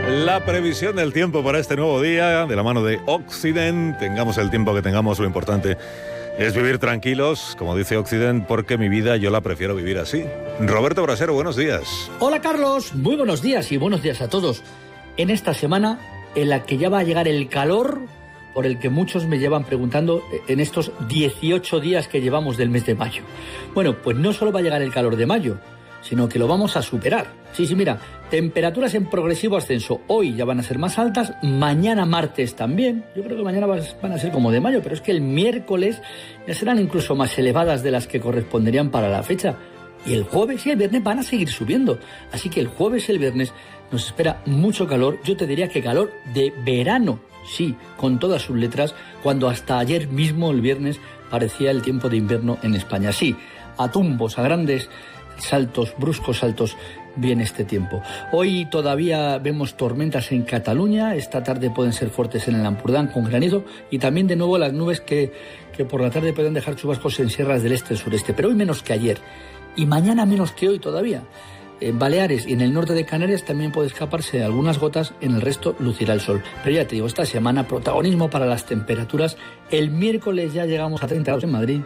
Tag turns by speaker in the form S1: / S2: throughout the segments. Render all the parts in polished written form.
S1: La previsión del tiempo para este nuevo día, de la mano de Occident. Tengamos el tiempo que tengamos, lo importante es vivir tranquilos, como dice Occident, porque mi vida yo la prefiero vivir así. Roberto Brasero, buenos días.
S2: Hola Carlos, muy buenos días y buenos días a todos. En esta semana en la que ya va a llegar el calor, por el que muchos me llevan preguntando en estos 18 días que llevamos del mes de mayo. Bueno, pues no solo va a llegar el calor de mayo, sino que lo vamos a superar. Sí, mira, temperaturas en progresivo ascenso. Hoy ya van a ser más altas, mañana martes también. Yo creo que mañana van a ser como de mayo, pero es que el miércoles ya serán incluso más elevadas de las que corresponderían para la fecha. Y el jueves y el viernes van a seguir subiendo. Así que el jueves y el viernes nos espera mucho calor. Yo te diría que calor de verano, sí, con todas sus letras, cuando hasta ayer mismo, el viernes, parecía el tiempo de invierno en España. Sí, a tumbos, a grandes saltos, bruscos saltos, viene este tiempo. Hoy todavía vemos tormentas en Cataluña, esta tarde pueden ser fuertes en el Ampurdán con granizo y también de nuevo las nubes que por la tarde pueden dejar chubascos en sierras del este y sureste, pero hoy menos que ayer y mañana menos que hoy todavía. En Baleares y en el norte de Canarias también puede escaparse algunas gotas, en el resto lucirá el sol. Pero ya te digo, esta semana protagonismo para las temperaturas. El miércoles ya llegamos a 30 grados en Madrid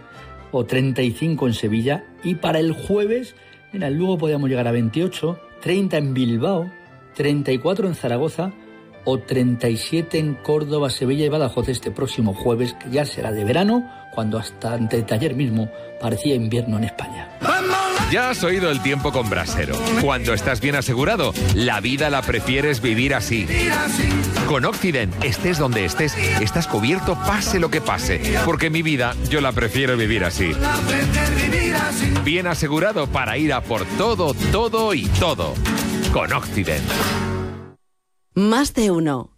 S2: o 35 en Sevilla, y para el jueves, mira, luego podríamos llegar a 28, 30 en Bilbao, 34 en Zaragoza o 37 en Córdoba, Sevilla y Badajoz este próximo jueves, que ya será de verano, cuando hasta antes de ayer mismo parecía invierno en España.
S3: Ya has oído el tiempo con Brasero. Cuando estás bien asegurado, la vida la prefieres vivir así. Con Occident, estés donde estés, estás cubierto pase lo que pase, porque mi vida yo la prefiero vivir así. Bien asegurado para ir a por todo, todo y todo. Con Occident.
S4: Más de uno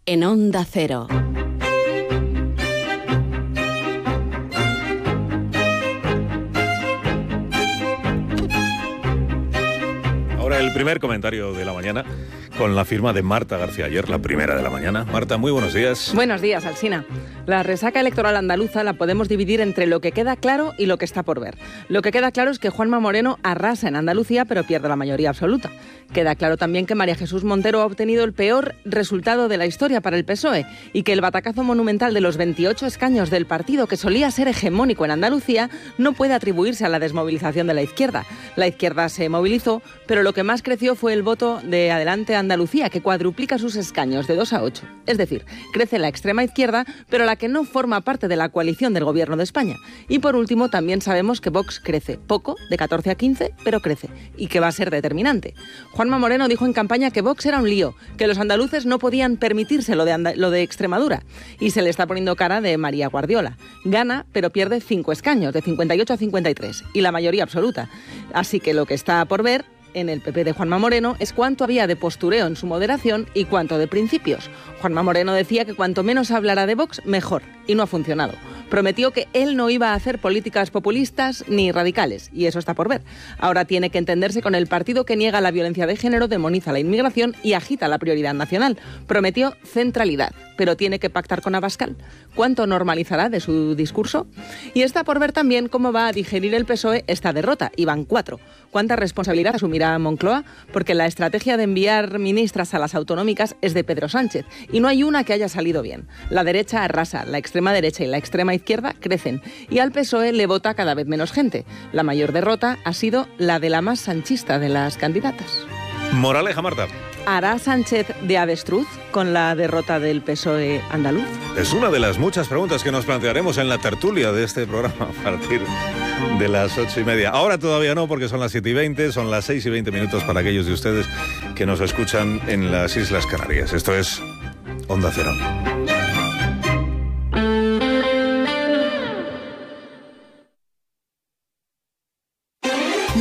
S4: en Onda Cero.
S1: Ahora el primer comentario de la mañana con la firma de Marta García Ayer, la primera de la mañana. Marta, muy buenos días.
S5: Buenos días, Alsina. La resaca electoral andaluza la podemos dividir entre lo que queda claro y lo que está por ver. Lo que queda claro es que Juanma Moreno arrasa en Andalucía, pero pierde la mayoría absoluta. Queda claro también que María Jesús Montero ha obtenido el peor resultado de la historia para el PSOE y que el batacazo monumental de los 28 escaños del partido, que solía ser hegemónico en Andalucía, no puede atribuirse a la desmovilización de la izquierda. La izquierda se movilizó, pero lo que más creció fue el voto de Adelante Andalucía, que cuadruplica sus escaños de 2 a 8. Es decir, crece la extrema izquierda, pero la que no forma parte de la coalición del Gobierno de España. Y por último, también sabemos que Vox crece poco, de 14 a 15, pero crece, y que va a ser determinante. Juanma Moreno dijo en campaña que Vox era un lío, que los andaluces no podían permitirse lo de Extremadura, y se le está poniendo cara de María Guardiola. Gana, pero pierde 5 escaños, de 58 a 53, y la mayoría absoluta. Así que lo que está por ver en el PP de Juanma Moreno es cuánto había de postureo en su moderación y cuánto de principios. Juanma Moreno decía que cuanto menos hablara de Vox, mejor, y no ha funcionado. Prometió que él no iba a hacer políticas populistas ni radicales, y eso está por ver. Ahora tiene que entenderse con el partido que niega la violencia de género, demoniza la inmigración y agita la prioridad nacional. Prometió centralidad, pero tiene que pactar con Abascal. ¿Cuánto normalizará de su discurso? Y está por ver también cómo va a digerir el PSOE esta derrota, y van 4. ¿Cuánta responsabilidad asumirá Moncloa? Porque la estrategia de enviar ministras a las autonómicas es de Pedro Sánchez, y no hay una que haya salido bien. La derecha arrasa, la extrema derecha y la extrema izquierda crecen, y al PSOE le vota cada vez menos gente. La mayor derrota ha sido la de la más sanchista de las candidatas.
S1: Moraleja, Marta.
S5: ¿Hará Sánchez de avestruz con la derrota del PSOE andaluz?
S1: Es una de las muchas preguntas que nos plantearemos en la tertulia de este programa a partir de las 8:30. Ahora todavía no, porque son las 7:20, son las 6:20 para aquellos de ustedes que nos escuchan en las Islas Canarias. Esto es Onda Cero.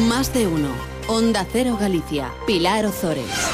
S4: Más de uno. Onda Cero Galicia. Pilar Ozores.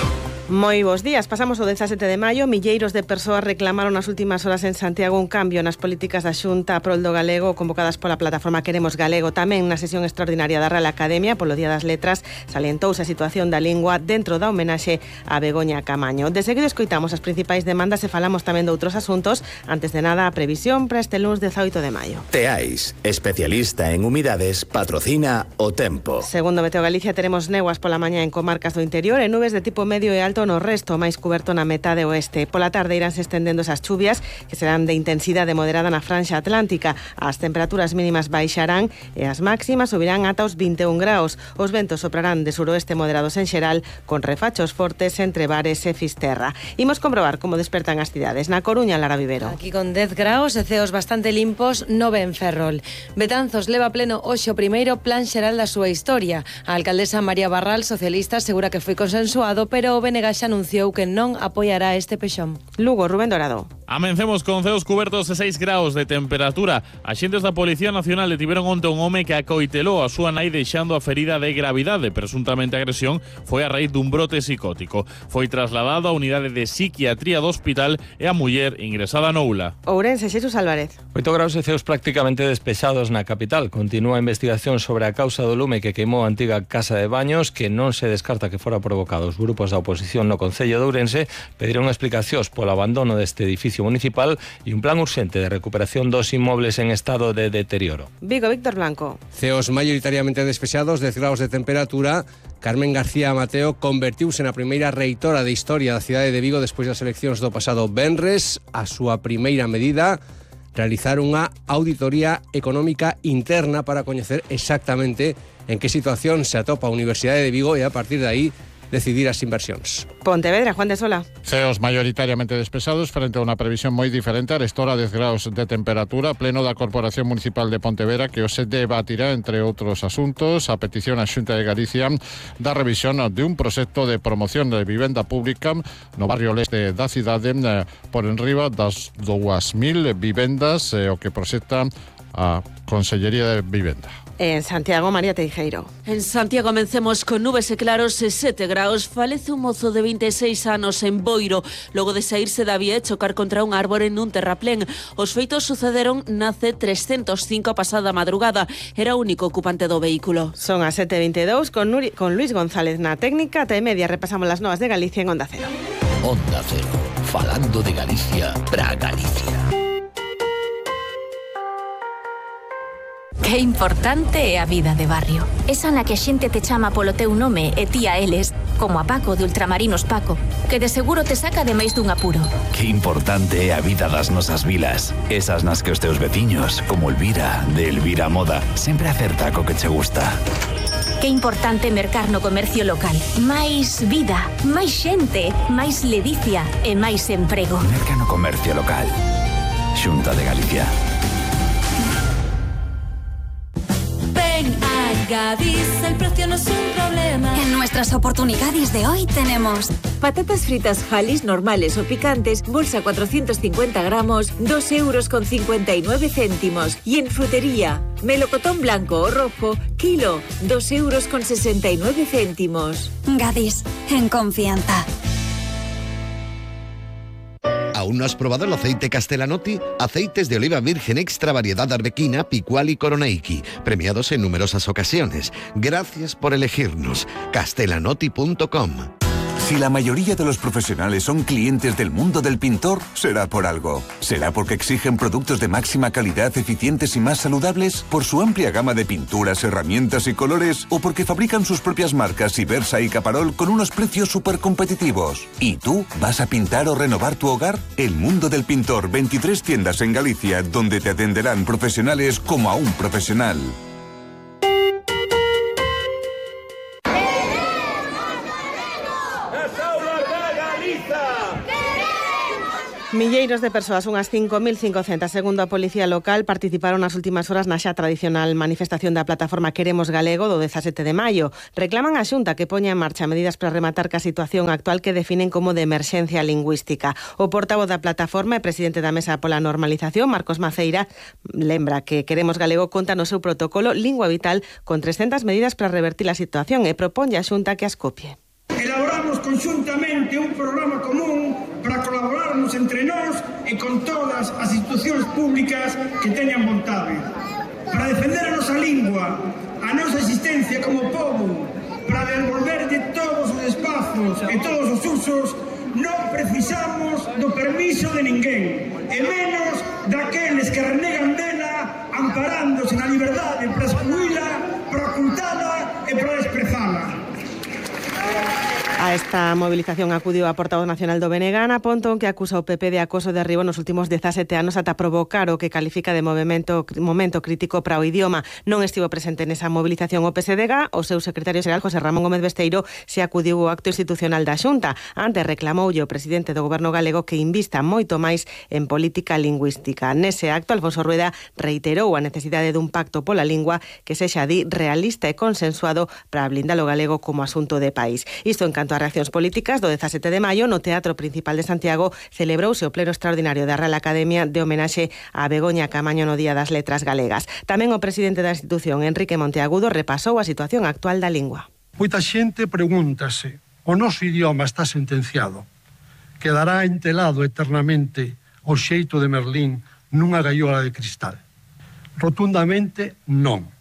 S6: Moi bons días. Pasamos o 17 de maio. Milleiros de persoas reclamaron nas últimas horas en Santiago un cambio nas políticas da Xunta a prol do galego convocadas pola plataforma Queremos Galego. Tamén na sesión extraordinaria da Real Academia polo Día das Letras salientouse a situación da lingua dentro da homenaxe a Begoña Camaño. De seguido escoitamos as principais demandas e falamos tamén de outros asuntos. Antes de nada, a previsión para este lunes 18 de maio.
S7: Teais, especialista en humidades, patrocina o tempo.
S6: Segundo Meteo Galicia, teremos neguas pola mañá en comarcas do interior e nubes de tipo medio e alto vento, no resto máis cuberto na metade oeste. Pola tarde iránse estendendo esas chuvias, que serán de intensidade moderada na franxa atlántica. As temperaturas mínimas baixarán e as máximas subirán ata os 21 graus. Os ventos soprarán de suroeste moderados en xeral, con refachos fortes entre Bares e Fisterra. Imos comprobar como despertan as cidades. Na Coruña, Lara Vivero.
S8: Aquí con 10 graus e ceos bastante limpos, 9 en Ferrol. Betanzos leva pleno hoxe o primeiro plan xeral da súa historia. A alcaldesa María Barral, socialista, asegura que foi consensuado, pero o BNG xa anunciou que non apoiará este pexón.
S6: Lugo, Rubén Dorado.
S9: Amencemos con ceos cubertos e 6 graus de temperatura. Axentes da Policía Nacional detiveron onte un home que acoitelou a súa nai deixando a ferida de gravidade. Presuntamente a agresión foi a raíz dun brote psicótico. Foi trasladado á unidade de psiquiatría do hospital e a muller ingresada no ULA.
S6: Ourense, Xesús Álvarez.
S10: 8 graus e ceos prácticamente despexados na capital. Continúa a investigación sobre a causa do lume que queimou a antiga casa de baños, que non se descarta que fora provocado. Os grupos da oposición no Concello de Ourense pediron explicacións polo abandono deste edificio municipal e un plan urxente de recuperación dos inmobles en estado de deterioro.
S6: Vigo, Víctor Blanco.
S11: Ceos maioritariamente despexados, 10 graus de temperatura. Carmen García Mateo convertiuse na primeira reitora de historia da cidade de Vigo despois das eleccións do pasado venres. A súa primeira medida, realizar unha auditoría económica interna para coñecer exactamente en que situación se atopa a Universidade de Vigo e a partir de aí decidir as inversións.
S6: Pontevedra, Juan de Sola.
S12: Ceos maioritariamente despesados frente a unha previsión moi diferente. Arestora 10 graus de temperatura, pleno da Corporación Municipal de Pontevedra, que hoxe debatirá, entre outros asuntos, a petición á Xunta de Galicia da revisión de un proxecto de promoción de vivenda pública no barrio leste da cidade por enriba das 2.000 vivendas, o que proxecta a Consellería de Vivenda.
S6: En Santiago, María Teijeiro.
S4: En Santiago amencemos con nubes e claros e 7 graus. Falece un mozo de 26 anos en Boiro, logo de saírse da vía e chocar contra un árbore nun terraplén. Os feitos sucederon na C305 a pasada madrugada. Era o único ocupante do vehículo.
S6: Son as 7:22 con Luis González na técnica. Ata e media repasamos las novas de Galicia en Onda Cero.
S13: Onda Cero, falando de Galicia para Galicia.
S14: Que importante é a vida de barrio. Esa na que a xente te chama polo teu nome e ti a eles, como a Paco de Ultramarinos Paco, que de seguro te saca de máis dun apuro.
S13: Que importante é a vida das nosas vilas. Esas nas que os teus veciños, como Elvira, de Elvira Moda, sempre acerta co que che gusta.
S14: Que importante mercar no comercio local. Máis vida, máis xente, máis ledicia e máis emprego.
S13: Merca no comercio local. Xunta de Galicia.
S15: Gadis, el precio no es un problema. En nuestras oportunidades de hoy tenemos
S16: patatas fritas Halis normales o picantes, bolsa 450 gramos, 2,59 €. Y en frutería, melocotón blanco o rojo, kilo, 2,69 €.
S15: Gadis, en confianza.
S17: ¿Aún no has probado el aceite Castellanotti? Aceites de oliva virgen extra variedad arbequina, picual y coroneiki, premiados en numerosas ocasiones. Gracias por elegirnos. Castellanotti.com.
S18: Si la mayoría de los profesionales son clientes del mundo del pintor, será por algo. ¿Será porque exigen productos de máxima calidad, eficientes y más saludables? ¿Por su amplia gama de pinturas, herramientas y colores? ¿O porque fabrican sus propias marcas Ibersa y Caparol con unos precios súper competitivos? ¿Y tú vas a pintar o renovar tu hogar? El mundo del pintor, 23 tiendas en Galicia, donde te atenderán profesionales como a un profesional.
S6: Milleiros de persoas, unhas 5.500, segundo a Policía Local, participaron nas últimas horas na xa tradicional manifestación da plataforma Queremos Galego do 17 de maio. Reclaman a Xunta que poña en marcha medidas para rematar ca situación actual que definen como de emerxencia lingüística. O portavoz da plataforma e presidente da Mesa pola Normalización, Marcos Maceira, lembra que Queremos Galego conta no seu protocolo Lingua Vital con 300 medidas para revertir a situación e proponlle a Xunta que as copie.
S19: Elaboramos conxuntamente un programa común para colaborarnos entre nós e con todas as institucións públicas que teñan vontade. Para defender a nosa lingua, a nosa existencia como pobo, para devolverlle todos os espazos e todos os usos, non precisamos do permiso de ninguén, e menos daqueles que renegan dela amparándose na liberdade para excluíla, para ocultala e para desprezala.
S6: A esta movilización acudiu a portavoz nacional do BNG, Ana Pontón, que acusa o PP de acoso de arribo nos últimos 17 anos ata provocar o que califica de momento crítico para o idioma. Non estivo presente nesa movilización o PSDG, o seu secretario xeral José Ramón Gómez Besteiro se acudiu ao acto institucional da Xunta. Antes reclamoulle o presidente do goberno galego que invista moito máis en política lingüística. Nese acto, Alfonso Rueda reiterou a necesidade dun pacto pola lingua que sexa realista e consensuado para blindar o galego como asunto de país. Isto en canto a reaccións políticas, do 17 de maio, no Teatro Principal de Santiago celebrouse o pleno extraordinario da Real Academia de homenaxe a Begoña Caamaño no Día das Letras Galegas. Tamén o presidente da institución, Enrique Monteagudo, repasou a situación actual da lingua.
S20: Moita xente pregúntase: o noso idioma está sentenciado? Quedará entelado eternamente o xeito de Merlín nunha gaiola de cristal? Rotundamente non.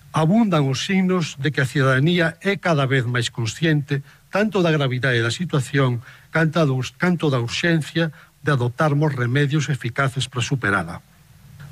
S20: Abundan os signos de que a cidadanía é cada vez máis consciente tanto da gravidade da situación canto da urxencia de adoptarmos remedios eficaces para superala.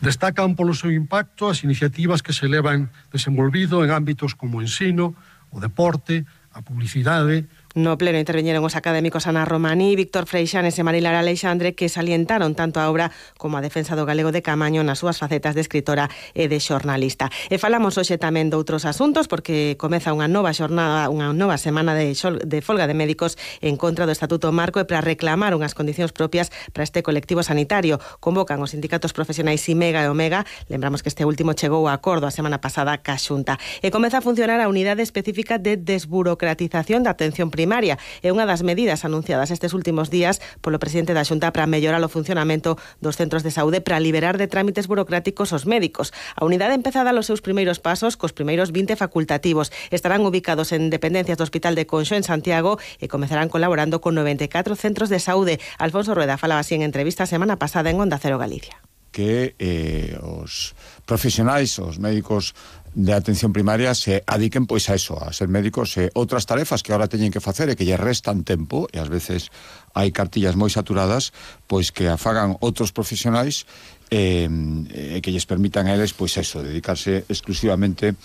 S20: Destacan polo seu impacto as iniciativas que se levan desenvolvido en ámbitos como o ensino, o deporte, a publicidade.
S6: No pleno interveñeron os académicos Ana Romaní, Víctor Freixanes e Marilar Aleixandre, que salientaron tanto a obra como a defensa do galego de Caamaño nas súas facetas de escritora e de xornalista. E falamos hoxe tamén de outros asuntos, porque comeza unha nova xornada, unha nova semana de folga de médicos en contra do Estatuto Marco e para reclamar unhas condicións propias para este colectivo sanitario. Convocan os sindicatos profesionais IMEGA e OMEGA, lembramos que este último chegou a acordo a semana pasada ca Xunta. E comeza a funcionar a unidade específica de desburocratización da atención primaria. É unha das medidas anunciadas estes últimos días polo presidente da Xunta para mellorar o funcionamento dos centros de saúde para liberar de trámites burocráticos os médicos. A unidade empeza a dar os seus primeiros pasos cos primeiros 20 facultativos. Estarán ubicados en dependencias do Hospital de Conxo en Santiago e comezarán colaborando con 94 centros de saúde. Alfonso Rueda falaba así en entrevista a semana pasada en Onda Cero Galicia.
S21: Que os profesionais, os médicos de atención primaria se adiquen pois a eso, a ser médicos e outras tarefas que ahora teñen que facer e que lle restan tempo, e ás veces hai cartillas moi saturadas, pois que a fagan outros profesionais e que lles permitan a eles pois eso, dedicarse exclusivamente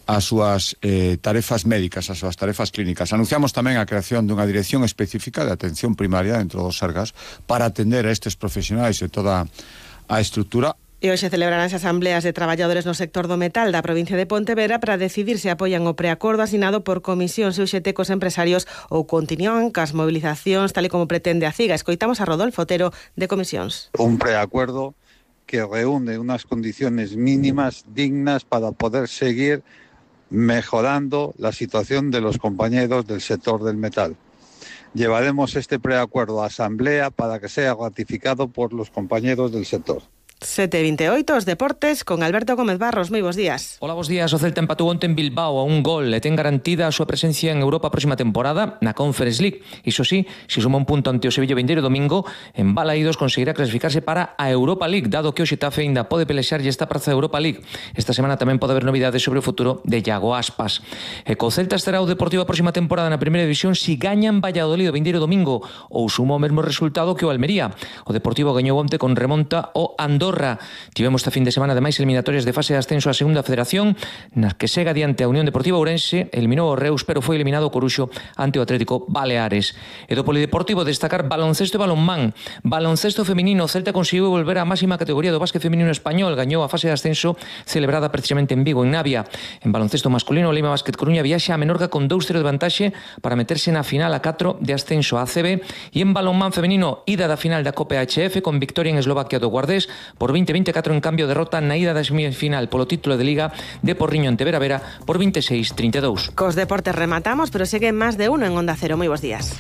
S21: ás súas tarefas médicas, ás súas tarefas clínicas. Anunciamos tamén a creación dunha dirección específica de atención primaria dentro dos Sergas para atender a estes profesionais e toda a estrutura.
S6: E hoxe celebraránse asambleas de traballadores no sector do metal da provincia de Pontevedra para decidir se apoian o preacordo asinado por Comisións e UGT cos empresarios ou continúan cas movilizacións tal e como pretende a CIGA. Escoitamos a Rodolfo Otero de Comisións.
S22: Un preacuerdo que reúne unas condiciones mínimas dignas para poder seguir mejorando la situación de los compañeros del sector del metal. Llevaremos este preacuerdo a asamblea para que sea ratificado por los compañeros del sector.
S6: 7:28, os deportes con Alberto Gómez Barros. Moi bons días.
S23: Hola, bons días. O Celta empatou onte en Bilbao a un gol e ten garantida a súa presencia en Europa a próxima temporada na Conference League. Iso sí, se suma un punto ante o Sevilla vindeiro domingo, en Balaídos conseguirá clasificarse para a Europa League, dado que o Xetafe ainda pode pelexarlle esta praza da Europa League. Esta semana tamén pode haber novidades sobre o futuro de Iago Aspas. E co Celta estará o Deportivo a próxima temporada na primeira división si gañan Valladolid o vindeiro domingo ou suma o mesmo resultado que o Almería. O Deportivo gañou onte con remonta o Andorra. Tivemos esta fin de semana ademais eliminatorias de fase de ascenso á segunda federación, nas que segue adiante a Unión Deportiva Ourense, eliminou o Reus, pero foi eliminado o Coruxo ante o Atlético Baleares. E do polideportivo destacar baloncesto e balonmán. Baloncesto feminino, Celta conseguiu volver á máxima categoría do básquet feminino español, gañou a fase de ascenso celebrada precisamente en Vigo, en Navia. En baloncesto masculino, o Lima Basket Coruña viaxa a Menorca con 2-0 de vantaxe para meterse na final a 4 de ascenso a ACB. E en balonmán feminino, ida da final da Copa HF con victoria en Eslovaquia do Guardés por 20-24, en cambio derrota na ida da semifinal polo título de Liga de Porriño ante Vera Vera por 26-32.
S6: Cos deportes rematamos, pero segue máis de uno en Onda Cero. Moi bons días.